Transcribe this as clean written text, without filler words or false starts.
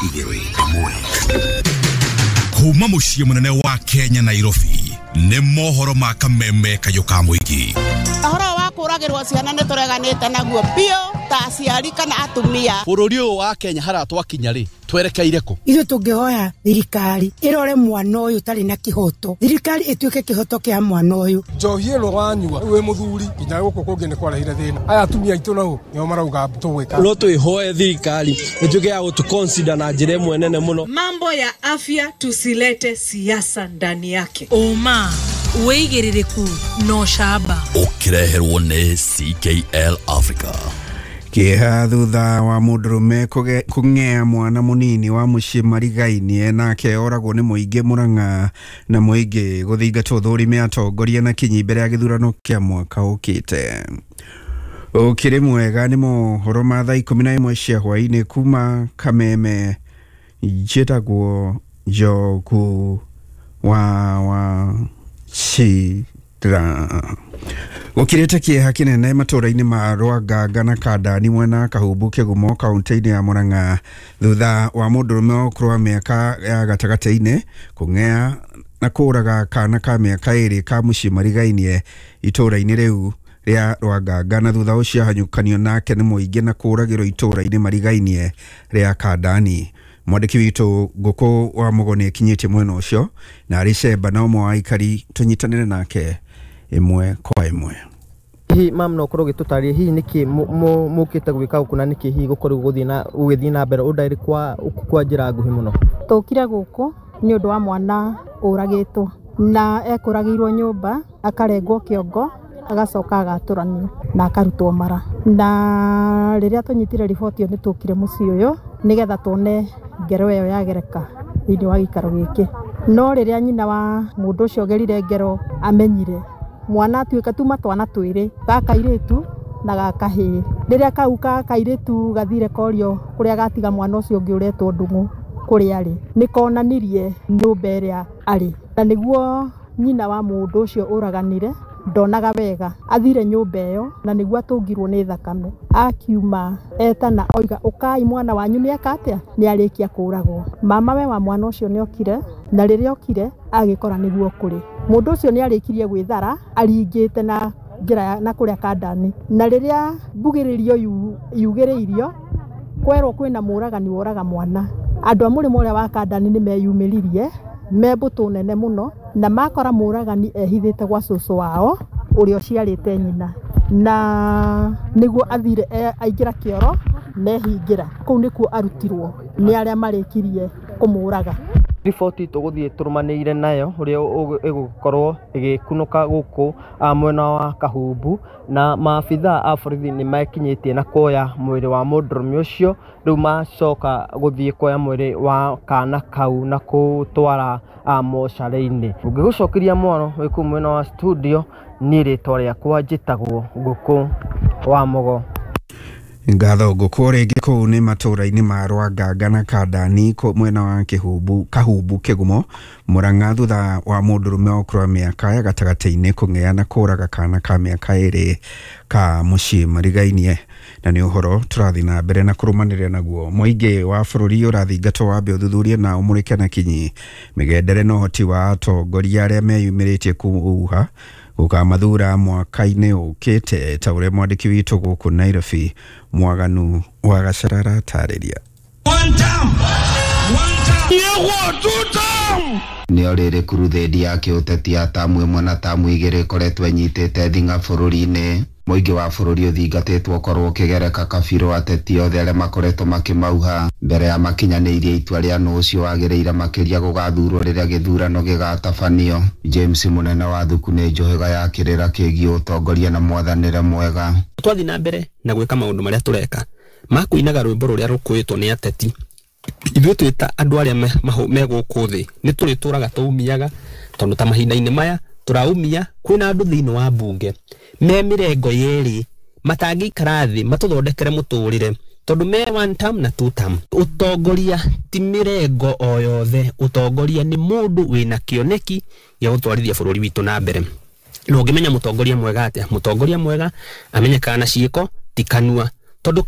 igĩrĩ ĩmwe. Kuma mũciĩ mũnene wa Kenya Nairobi nĩ mohoro ma kameme kayũ ka mũingĩ. Ũhoro wa kũragĩrwo ciana nĩ tũreganĩte naguo biũ ta aciari kana atumia. Bũrũri ũyũ wa Kenya haria twakinya rĩ twerekeire kũ? Ithuĩ tũngĩhoya thirikari ĩrore mwana ũyũ ũtarĩ na kĩhoto, thirikari ĩtuĩke kĩhoto kĩa mwana ũyũ. Njohi ĩno wanyua wĩ mũthuri nginya gũkũ kũngĩ nĩ kwarehire thĩna. Aya atumia aitũ nao nĩo marauga tũgwĩka. No twĩhoe thirikari ĩtuĩke ya gũtũ na njĩra ĩmwe nene mũno. Mambo ya afya tusilete siasa ndani yake. Ũma wĩigĩrĩrĩku na ũcamba ũkĩreherwo nĩ CKL Africa. Kĩeha thutha wa mũndũrũme kũng'ea mwana mũnini wa mũciĩ marigainie nake oragwo nĩ mũingĩ Murang'a na mũingĩ gũthingatwo thũrime atongoria na kinyi mbere ya gĩthurano kĩa mwaka ũkĩte. Ũkĩrĩ mwega nĩ mohoro ma thaa 11 cia hwaĩ-inĩ kuma Kameme. Njĩtagwo Njogu wa Wachira. Gũkirĩte kĩeha kĩnene matũũra-inĩ ma Rwanganga na Kandani mwena Kahumbu Kĩgumo kaunti-inĩ ya Murang'a thutha wa mũndũrũme wa ũkũrũ wa mĩaka ya gatagatĩ-inĩ kũng'ea na kũũraga kana ka mĩaka 2 ka mũciĩ marigainie itũũra-inĩ rĩu rĩa Rwanganga na thutha ũcio ahanyũkanio nake nĩ mũingĩ na kũũragĩrwo itũũra-inĩ marigainie rĩa Kandani. Mwandĩki witũ Ngũkũ wa Mũgo nĩ akinyĩtie mwena ũcio na arĩ cemba na ũmwe wa aikari tũnyitanĩre nake ĩmwe kwa ĩmwe. Hihi mam no ũkorwo ũgĩtũtarĩria hihi nĩkĩ mũkĩte gwĩka gũkũ na nĩkĩ hihi gũkorwo gũgĩthiĩ na mbere ũndarĩ kwa njĩra nguhĩ mũno? Tũkire gũkũ nĩ ũndũ wa mwana ũragĩtwo na ekũragĩirwo nyũmba akarengwo kĩongo agacoka agatũranio na akarutwo mara. Na rĩrĩa tũnyitire riboti ĩyo nĩ tũkire mũciĩ ũyũ nĩgetha tuone ngero ĩyo yagereka thĩinĩ wa gĩikaro gĩkĩ. No rĩrĩa nyina wa mũndũ ũcio ũgerire ngero amenyire mwana atuĩka tuma twana twĩrĩ, ga kairĩtu na ga kahĩĩ. Rĩrĩa kau ka kairĩtu gathire korio kũrĩa gatiga mwana ũcio ũngĩ ũretwo Ndung'u kũrĩa arĩ, nĩ konanirie nyũmba ĩrĩa arĩ. Na nĩguo nyina wa mũndũ ũcio ũraganire ndonaga wega, athire nyũmba ĩyo na nĩguo atũngirwo nĩ thakame. Akiuma etana oiga ũkai mwana wanyu nĩ eka atĩa, nĩ arĩkia kũragwo. Mama we wa mwana ũcio nĩ okire na rĩrĩa okire agĩkora nĩguo kũrĩ. Mũndũ ũcio nĩ arĩkirie gwĩthara aringĩte na njĩra na kũrĩa Kandani. Na rĩrĩa mbugĩrĩrio yugĩrĩirio kwerwo kwĩna mũragani woraga mwana, andũ a mũrĩmo ũrĩa wa Kandani nĩ meyumĩririe me mbũtũ nene mũno na makora mũragani ehithĩte gwa cũcũ wao ũrĩa ũciarĩte nyina, na nĩguo athire aingĩra kĩoro nehingĩra kũu nĩkuo arutirwo nĩ arĩa marĩkirie kũmũraga. Riboti tũgũthiĩ tũrũmanĩire nayo ũrĩa ĩgũkorwo ĩgĩkunũka gũkũ mwena wa Kahumbu na maabithaa a borithi nĩ mekinyĩtie na kuoya mwĩrĩ wa mũndũrũme ũcio. Rĩu macoka gũthiĩ kuoya mwĩrĩ wa kana kau na kũtwara mocarĩ-inĩ. Ũngĩgũcokeria mwaro wĩ kũu mwena wa studio, niĩ rĩtwa rĩakwa njĩtagwo Ngũkũ wa Mũgo. Ngatho Ngũkũ. Rĩngĩ kũu nĩ matũũra-inĩ ma Rwanganga na Kandani mwena wa Kahumbu Kĩgumo Murang'a thutha wa mũndũrũme wa ũkũrũ wa mĩaka ya gatagatĩ-inĩ kũng'ea na kũũraga kana ka mĩaka 2 ka mũciĩ marigainie. Na nĩ ũhoro tũrathiĩ na mbere na kũrũmanĩrĩra naguo. Mũingĩ wa bũrũri ũrathingatwo wambe ũthuthurie na ũmũrĩke na kinyi mĩgendere na ũhoti wa atongoria arĩa meyumĩrĩtie kũuha gũkamathura mwaka-inĩ ũkĩte ta ũrĩa mwandĩki witũ gũkũ Nairobi Mwaganu wa Gacara aratarĩria. Nĩ rĩrĩ kuruthendi ya kĩũteti ya tamu 1 na tamu 2 ĩkoretwo ĩnyitĩte thing'a bũrũri-inĩ. Mũingĩ wa bũrũri ũthingatĩtwo ũkorwo ũkĩgereka kabirũ ateti othe arĩa makoretwo makĩmauha mbere ya makinyanĩirie itua rĩa nũ ũcio wagĩrĩire makĩria gũgathurwo rĩrĩa gĩthurano gĩgatabanio. James Mũnene wa Thuku nĩ njũhĩga ya kĩrĩra kĩgiĩ ũtongoria na mwathanĩre mwega. Twathiĩ na mbere na gwĩka maũndũ marĩa tũreka ma kũinaga rwĩmbo rũrĩa rũkũĩtwo nĩ ateti, ithuĩ twĩ ta andũ arĩa me gũkũ thĩ nĩ tũrĩtũraga tũumiaga, tondũ ta mahinda-inĩ maya tũraumia kwĩna andũ thĩinĩ wa mbunge me mĩrengo yerĩ matangĩikara thĩ matũthondekere mũtũrĩre, tondũ me one term na two term. Ũtongoria ti mĩrengo o yothe, ũtongoria nĩ mũndũ wĩna kĩoneki gĩa gũtwarithia bũrũri witũ na mbere. Na ũngĩmenya mũtongoria mwega atĩa? Mũtongoria mwega amenyekaga na ciĩko ti kanua, tondũ